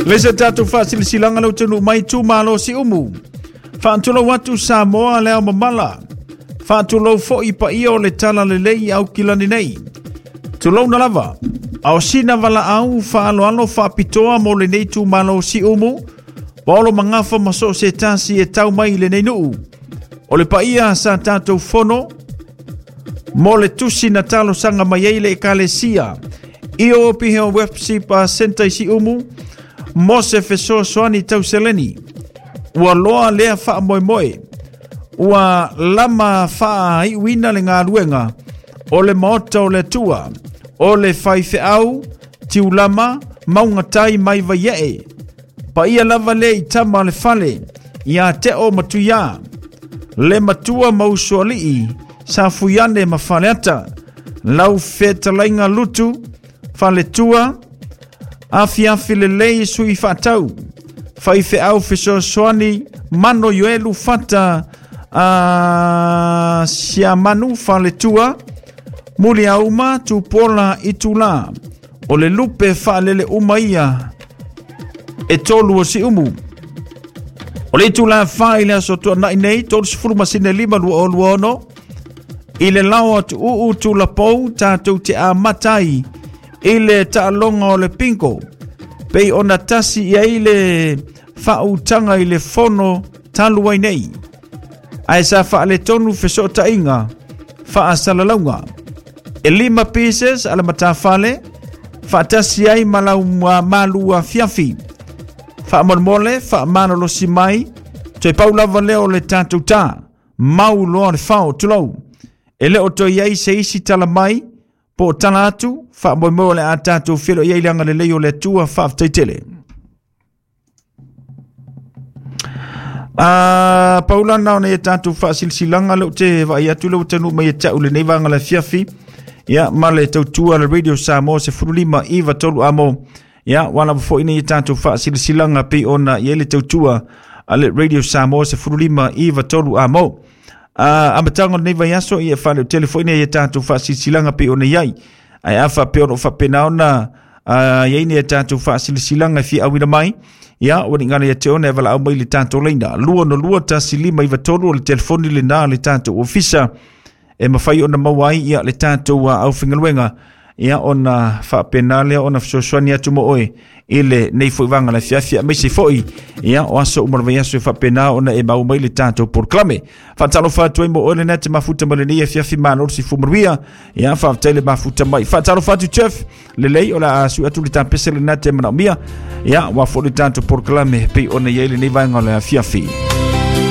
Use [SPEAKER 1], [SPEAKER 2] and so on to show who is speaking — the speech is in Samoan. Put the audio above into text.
[SPEAKER 1] Le se tatou faasilasilaga le atunuu mai itumalo Siumu. Faatulou atu Samoa le ao mamala. Faatulou foi paia o le tala lelei Aukilani nei. Tulouna lava. A o sina valaau faaaloalo faapitoa mo lenei itumalo Siumu, paolo magafa ma so o se tasi e tau mai i lenei nuu. O le paia sa tatou fono mo le tusi na talosaga mai ai le ekalesia i o Piheo Webship Center i Siumu mo se fesoasoani tau seleni. Ua loa lea faamoemoe. Ua lama faaiuina le galuega o le maota o le Atua, o le faifeau, tiulama, maugatai mai Vaiee. Paia lava lea i tama o le fale, ia Teo ma Tuiā, le matua ma usoalii, Safuiane ma Faleata, lau fetalaiga Lutu, Faletua, afiafi lelei sui faatau, faifeau fesoasoani, Mano Ioelu Fata, Siamanu Faletua, Muliauma Tupola Itula, o le lupe faalele uma ia e tolu o Siumu. O le itula 4 i le aso tuanai nei, 30 masina 5 2026, i le lao atu uu tulapou tatou te amata ai i le taaloga o le bingo. Pei ona tasi i ai le faautaga i le fono talu ai nei. Ae sa faaletonu fesootaiga faasalalauga. E 5 pieces a le matafale, faatasi ai ma lau malu afiafi. Faamolemole, faamalolosi mai, toe pau lava lea o le tatou tā. Mau loa le fao, tulou. E le o toe i ai se isi tala mai, po o tala atu, faamoemoe o le a tatou feiloai ai i le agalelei o le Atua, faafetai tele. A paula na ona ia tatou faasilasilaga lea ou te vaai atu lea ua taunuu mai ia te au lenei vaega o le afiafi. Ia, ma le tautua a le Radio Samoa 15 9 3 amo. Ia, ua lava foi nei tatou faasilasilaga pei ona i ai le tautua a le Radio Samoa 15 9 3 amo. A amataga o lenei vaiaso, ia e faaleotele foi nei tatou faasilasilaga pei ona i ai. Ae a faapea o lo o faapena ona i ai nei tatou faasilasilaga e fia auina mai, ia ua ligala ia te ona e valaau mai le tatou laina 202 1593 o le telefoni lena a le tatou ofisa e mafai ona maua ai ia le tatou aufaigaluega ia ona faapena lea ona fesoasoani atu mo oe i lenei foi vaega o le afiafi aemaise foi ia o aso uma o le vaiaso e faapena ona e maua mai le tatou polokalame. Faatalofa atu ai mo oe lena e te mafuta mai lenei afiafi, malo le soifua manuia. Ia faafetai le mafuta mai. Faatalofa atu Jeff, lelei o le a sui atu le tapese lena te manaomia. Ia ua foi le tatou polokalame pei ona i ai lenei vaega o le afiafi.